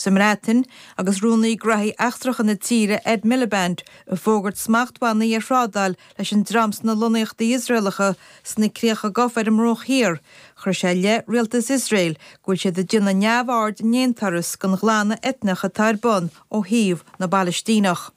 Sa mBreatain, agus Rúnaí Graithí Eachtracha na tíre, Ed Miliband, ag fógairt smachtbhannaí ar thrádáil leis an dream sna lonnaíochtaí Iosraelacha sna críocha gafa ar an mBruach Thiar, chuir sé i leith rialtas Iosrael go bhfuil siad ag déanamh neamhaird in aon turas den ghlanadh eitneach atá ar bun ó thaobh na bPalaistíneach.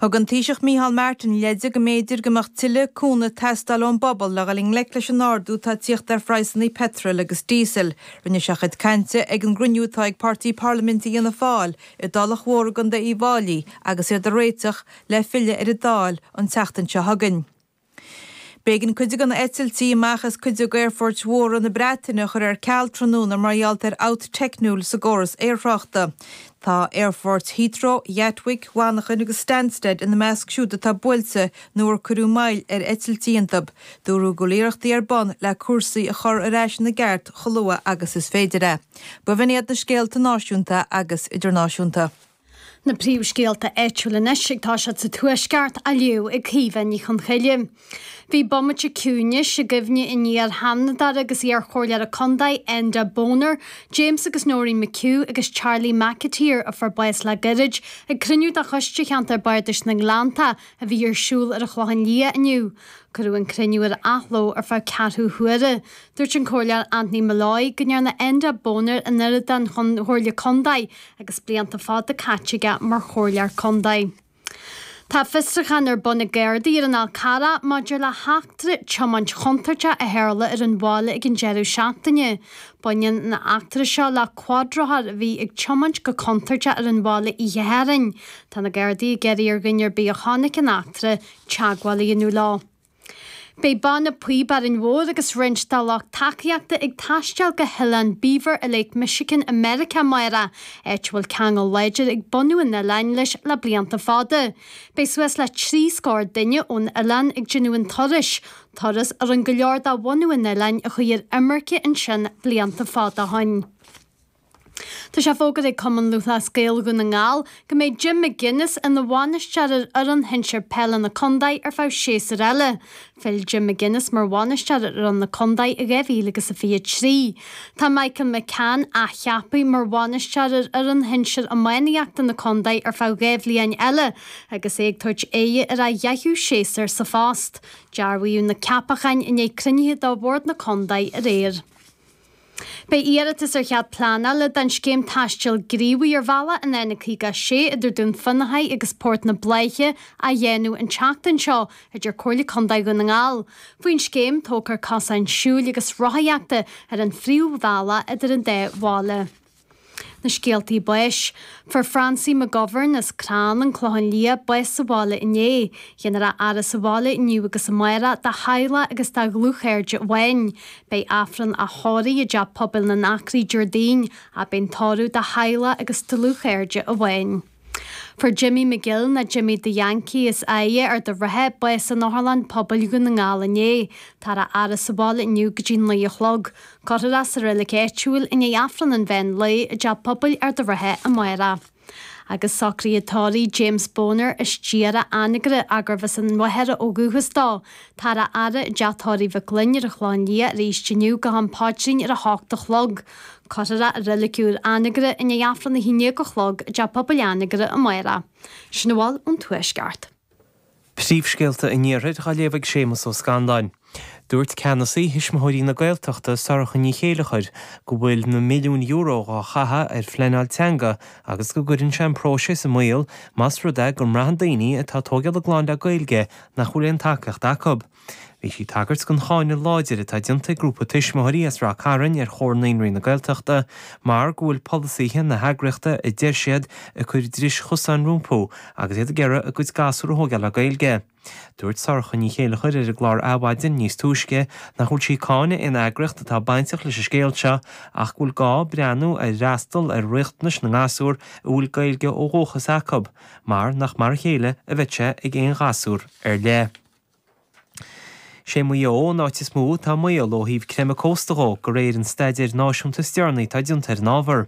Thug an Taoiseach Micheál Martin leide go mb'fhéidir go mbeadh tuilleadh cúnaimh ag teastáil ón bpobal le dhul i ngleic leis an ardú atá ag tíocht ar phraghsanna peitril agus díosail. Rinne sé a chuid cainte ag an gcruinniú atá ag Páirtí Parlaiminte Fhianna Fáil i dTulach Mhór i gContae Uíbh Fháilí agus iad ag réiteach le filleadh ar an Dáil an tseachtain seo chugainn. B'éigean cuid de na heitiltí amach as cuid d'aerfoirt mhóra na Breataine a chur ar ceal tráthnóna mar gheall ar fhabht teicniúil sa gcóras aerthráchta. Tá aerfoirt Heathrow, Ghatwick, Mhanchain agus Stansted ina measc siúd atá buailte nó ar cuireadh moill ar eitiltí iontu. Dúradh go bhfuil iarrachtaí ar bun le cúrsaí a chur ar ais ina gceart chomh luath agus is féidir é. B'in iad na scéalta náisiúnta agus idirnáisiúnta. Na príomhscéalta áitiúla anois ag toiseacht sa Tuaisceart á léamh ag Caoimhe Ní Chonchoille. Bhí bomaite ciúnais i gcuimhne an iar-Sheanadóra agus iar-Chomhairleora Contae Enda Boner, James agus Noreen McHugh agus Charlie McAteer a fuair bás le gairid ag cruinniú de Choiste Cheantar Bardais na nGleannta a bhí ar siúl ar an Chlochán Liath inniu. Cuireadh an cruinniú ar athló ar feadh ceathrú huaire. Dúirt an Comhairleoir Anthony Molloy go ndearna Enda Boner an oiread don Chomhairle Contae agus blianta fada caite aige mar chomhairleoir contae. Tá fiosrúchán ar bun ag Gardaí ar an Fhál Carrach maidir le heachtra tiomáint chontúirteach a tharla ar an bhaile ag an deireadh seachtaine. Baineann an eachtra seo le cuadrothar a bhí ag tiomáint go contúirteach ar an bhaile oíche Shathairn. Tá na Gardaí ag iarraidh ar dhuine ar bith a chonaic an eachtra teagmháil a dhéanamh leo. Beidh Banna Píob Árainn Mhór agus roinnt dá lucht tacaíochta ag taisteal go hOileán Beaver i Lake Michigan i Meiriceá amárach, áit a bhfuil ceangal láidir ag bunadh an oileáin leis le blianta fada. Beidh suas le 30 scór duine ón oileán ag déanamh an turais, turas a rinne go leor de bhunadh an oileáin a chuaigh ar imirce ansin blianta fada ó shin. Tá sé fógartha ag Cumann Lúthchleas Gael Dhún na nGall go mbeidh Jim McGuinness ina bhainisteoir ar fhoireann shinsir peile na contae ar feadh séasúir eile. Phill Jim McGuinness mar bhainisteoir ar fhoireann na contae i 2023. Tá Michael McCann athcheaptha mar bhainisteoir ar fhoireann shinsir iománaíochta na contae ar feadh 2 bhliain eile agus é ag tabhairt aghaidh ar a dheichiú séasúr sa phost. Dearbhaíodh na ceapacháin i ndiaidh cruinnithe de bhord na contae aréir. Beidh iarratas ar chead pleanála don scéim taistil gníomhaigh ar bhealach an N56 idir Dún Fionnachaidh agus Port na Bláiche á dhéanamh an tseachtain seo, a deir Comhairle Contae Dhún na nGall. Faoin scéim, tógfar cosáin siúil agus rothaíochta ar an phríomhbhealach idir an dá bhaile. Na scéaltaí báis. Fuair Francie McGovern as Crann, An Clochán Liath, bás sa bhaile inné. Déanfar a fhaire sa bhaile inniu agus amárach dá theaghlach agus dá dhlúthchairde amháin. Beidh Aifreann á thórramh i dTeach Pobail na nAcraí Déardaoin ach beidh an tórramh do theaghlach agus dlúthchairde amháin. Fuair Jimmy McGill, nó Jimmy the Yankee as Áille, Ard a' Rátha, bás in Otharlann Pobail Dhún na nGall inné. Táthar á fhaire sa bhaile inniu go dtí 9 a chlog. Cuirfear é sa reilig áitiúil i ndiaidh Aifreann an mheán lae i dTeach Pobail Ard a' Rátha amárach. Agus socruithe tórraimh James Boner as Diarra, Anagaire, ach gurbh as an Mhachaire ó dhúchas dó. Táthar á fhaire i dTeach Tórraimh Mhic Fhloinn ar an Chlochán Liath arís inniu go ham paidrín ar 8 a chlog. Cuirfear é i reilig úr Anagaire i ndiaidh Aifreann 11 a chlog i dTeach Pobail Anagaire amárach. Sin a bhfuil ón Tuaisceart. Príomhscéalta an Iarthair á léamh ag Séamus Ó Scanláin. Dúirt ceannasaí Thuismitheoirí na Gaeltachta, Sorcha Ní Chéilleachair, go bhfuil na milliúin euro dhá chaitheamh ar phleanáil teanga agus go gcuireann sé an próiseas i mbaol más rud é go mbraitheann daoine atá ag tógáil a gclann le Gaeilge nach bhfuil aon tacaíocht acu. Bhí sí ag tagairt don cháineadh láidir atá déanta ag grúpa tuismitheoirí as Rath Cairn ar Chomhar Naíonraí na Gaeltachta mar go bhfuil polasaithe na heagraíochta, a deir siad, ag cur dris chosáin rompu agus iad ag iarraidh a gcuid gasúr a thógáil le Gaeilge. Dúirt Sorcha Ní Chéilleachair ar an gclár Adhmhaidin níos túisce nach bhfuil sí ag cáineadh aon eagraíocht atá bainteach leis an scéal seo ach go bhfuil gá breathnú ar fhreastal ar riachtanais na ngasúr a bhfuil Gaeilge ó dhúchas acu mar nach mar a chéile a bheidh sé ag aon ghasúr ar leith. Sé Maigh Eo an áit is mó atá i mbaol ó thaobh creimeadh cósta dhó, de réir an staidéir náisiúnta is deireanaí atá déanta ar an ábhar.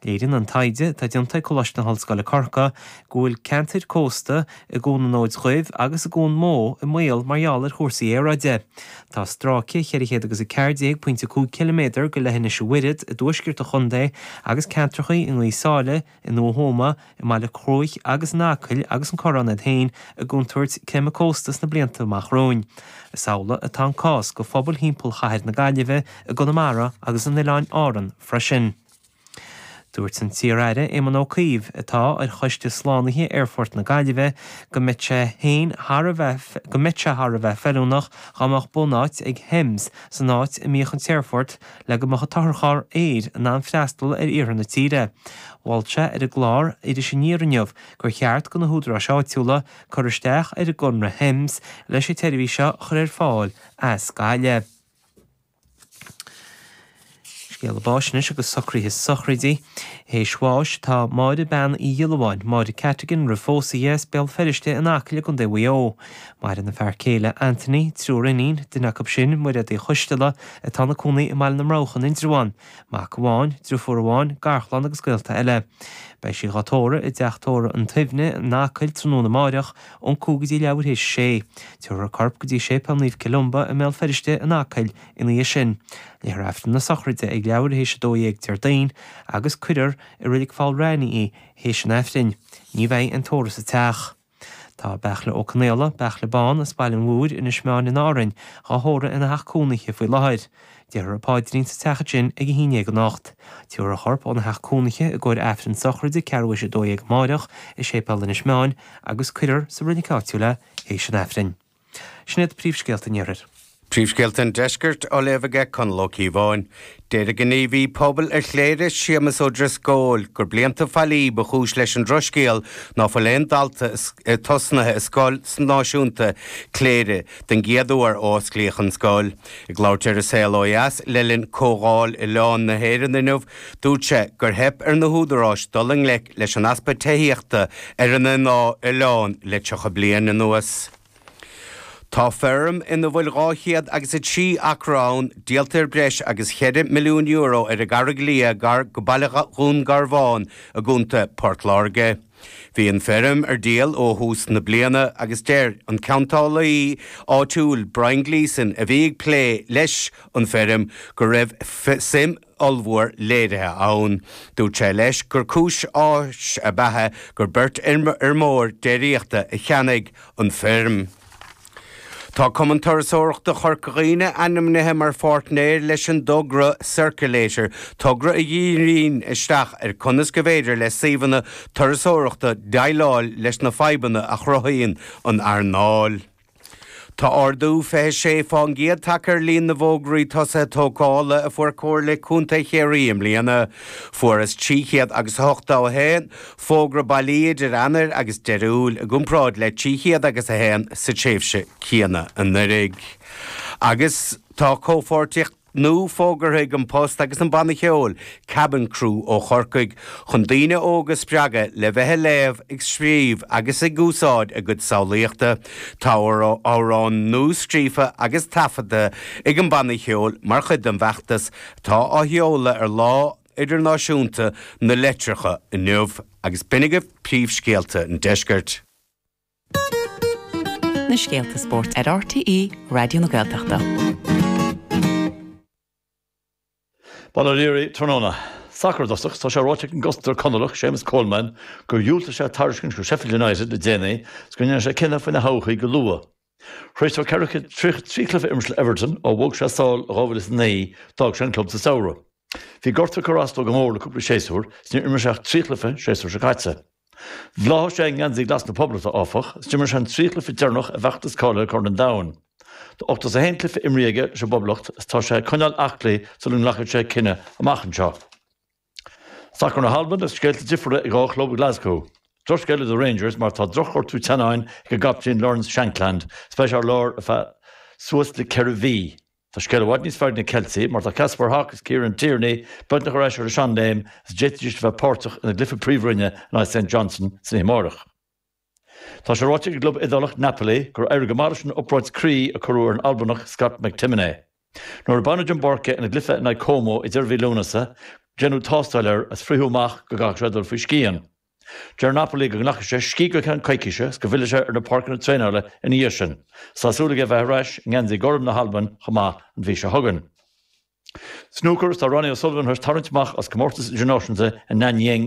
Léiríonn an taighde, atá déanta ag Coláiste na hOllscoile Corcaigh, go bhfuil ceantair cósta i gCuan an Fhóid Dhuibh agus i gCuan Mó i mbaol mar gheall ar chúrsaí aeráide. Tá stráice 414.5 ciliméadar de leithinis an Mhuiread i dtuaisceart an chontae agus ceantrachaí i nGaoth Sáile, i nDumha Thuama, i mBaile Cruaich agus in Acaill agus an Corrán iad féin i gcontúirt creimeadh cósta sna blianta amach romhainn. Is amhlaidh atá an cás do phobail thimpeall chathair na Gaillimhe, i gConamara agus in Oileáin Árann freisin. Dúirt an t-iar-aire Éamon Ó Cuív, atá ar choiste slánaithe Aerfort na Gaillimhe, go mbeadh sé féin thar a bheith go mbeadh sé thar a bheith feiliúnach dá mbeadh bunáit ag HEMS san áit a mbíodh an t-aerfort le go mbeadh an t-otharcharr aeir in ann freastal ar iarthar na tíre. Mhol sé ar an gclár Iris Aniar inniu gur cheart do na húdaráis áitiúla cur isteach ar an gconradh HEMS leis an tseirbhís seo a chur ar fáil as Gaillimh. Scéala báis anois agus socruithe sochraide. Théis bháis tá Máire Bean Uí Dhiollabháin, Máire Cattigan roimh phósadh di, as Béal Feirste in Acaill i gContae Mhaigh Eo. Maireann a fear céile Anthony, triúr iníon, duine acu sin, Mairéad Uí Choisteala, atá ina cónaí i mBaile na mBroghach in Indreabhán, mac amháin, driofúr amháin, garchlann agus gaolta eile. Beidh sí dhá tórramh i dteach tórraimh an tSuibhne in Acaill tráthnóna amáireach ón 5 go dtí leathuair théis a sé. Tabharfar a corp go dtí Séipéal Naomh Columba i mBéal Feirste in Acaill ina dhiaidh sin. Léifear Aifreann na sochraide ag leathuair théis 12 Déardaoin agus cuirfear i Reilig Pholl Raithní í théis an Aifrinn. Ní bheidh aon tórramh sa teach. Tá Beartla Ó Conaola, Beartla Bán, as Baile an Mhúir, Inis Meáin in Árainn, dhá thórramh ina theach cónaithe faoi láthair. Déarfar an paidrín sa teach ansin ag 11 anocht. Tabharfar a chorp óna theach cónaithe i gcomhair Aifreann sochraide ceathrú théis 12 amáireach i Séipéal Inis Meáin agus cuirfear sa reilig áitiúil é théis an Aifrinn. Sin iad príomhscéalta an Iarthair. Príomhscéalta an Deiscirt á léamh aige Conall Ó Cíobháin. Deir an gníomhaí pobail ar Chléire, Séamus Ó Drisceoil, gur blianta faillí ba chúis leis an drochscéal ná fuil aon dalta tosnaithe i scoil náisiúnta Chléire den gcéad uair ó osclaíodh an scoil. Ag labhairt ar An Saol Ó Dheas le linn Comhdháil Oileáin na hÉireann inniu, dúirt sé gur theip ar na húdaráis dul i ngleic leis an easpa tithíochta ar an oileán le 30 bliain anuas. Tá feirm ina bhfuil 203 acra ann díolta ar breis agus €4 milliún ar an gCarraig Liath gar go baile Dhún Garbhán i gContae Port Láirge. Bhí an feirm ar díol ó thús na bliana agus deir an ceantálaí áitiúil Brian Gleeson a bhí ag plé leis an feirm go raibh suim ollmhór léirithe ann. Dúirt sé leis gur cúis áthais ab ea é gur beirt fheirmeoir déiríochta a cheannaigh an feirm. Tá Cumann Turasóireachta Chorca Dhuibhne ainmnithe mar pháirtnéir leis an dtogra Circulator, togra a dhíríonn isteach ar conas go bhféidir le suíomhanna turasóireachta déileáil leis na fadhbanna a chruthaíonn an earnáil. Tá ardú 26 fán gcéad tagtha ar líon na bhfógraí tosaithe tógála a fuair Comhairle Contae Chiarraí i mbliana. Fuarthas 381 fógra bailí idir Eanáir agus Deireadh Iúil i gcomparáid le 301 sa tréimhse chéanna anuraidh. Agus tá comhpháirtíocht nua fógartha ag An Post agus an banna ceoil Cabin Crew ó Chorcaigh chun daoine óga a spreagadh le bheith ag léamh, ag scríobh agus ag úsáid a gcuid samhlaíochta. Tá amhrán nua scríofa agus taifeadta ag an banna ceoil mar chuid den bhfeachtas atá á sheoladh ar Lá Idirnáisiúnta na Litreacha inniu agus b'in agaibh príomhscéalta an deiscirt. Na scéalta spóirt ar RTÉ Raidió na Gaeltachta. Bail ó Dhia oraibh tráthnóna. Sacar i dtosach, tá sé ráite ag an gcosantóir Conallach, Séamus Coleman, gur dhiúltaigh sé tairiscint ó Sheffield United le déanaí is go ndéanfaidh sé cinneadh faoina thodhchaí go luath. Tar éis dó 433 cluiche a imirt le Everton ó bhog sé sall i 2009, d'fhág sé an club sa samhradh. Bhí gortú ag cur as dó go mór le cúpla séasúr is níor imir sé ach 3 chluiche an séasúr seo caite. Bhláthaigh sé i ngeansaí glas na Poblachta, áfach, is d'imir sé an 3 chluiche deireanach i bhfeachtas cáilithe Chorn an Domhain. Tá 81 cluiche imrithe aige leis an bPoblacht is tá sé ag coinneáil aclaí sula nglacfaidh sé cinneadh amach anseo. Sacar na hAlban agus scéalta difriúla ag dhá chlub Glasgow. Drochscéal do Rangers mar tá drochghortú teannáin ag a gcaptaen Lawrence Shankland is beidh sé ar lár ar feadh suas le ceithre mhí. Tá scéal i bhfad níos fearr ag na Ceiltigh mar tá Kaspar Hak agus Kieran Tierney beagnach ar ais ar a seanléim is d'fhéadfaidís a bheith páirteach ina gcluiche príomhroinne in aghaidh St Johnstone san oíche amárach. Tá sé ráite ag an gclub Iodálach Napoli gur éirigh go maith leis an obráid croí a cuireadh ar an Albanach Scott McTominay. Nuair a baineadh den bpáirc é ina gcluiche in aghaidh Como ag deireadh mhí Lúnasa, déanadh tástáil air is frítheadh amach go gcaithfeadh sé dul faoi scian. Deir Napoli go nglacfaidh sé scíth go ceann coicíse is go bhfillfidh sé ar na páirceanna traenála ina dhiaidh sin. Tá súil aige bheith ar ais i ngeansaí gorm na hAlban chomh maith an mhí seo chugainn. Snúcar, Tá Ronnie O'Sullivan tar éis tarraingt amach as comórtas idirnáisiúnta i Nanyang.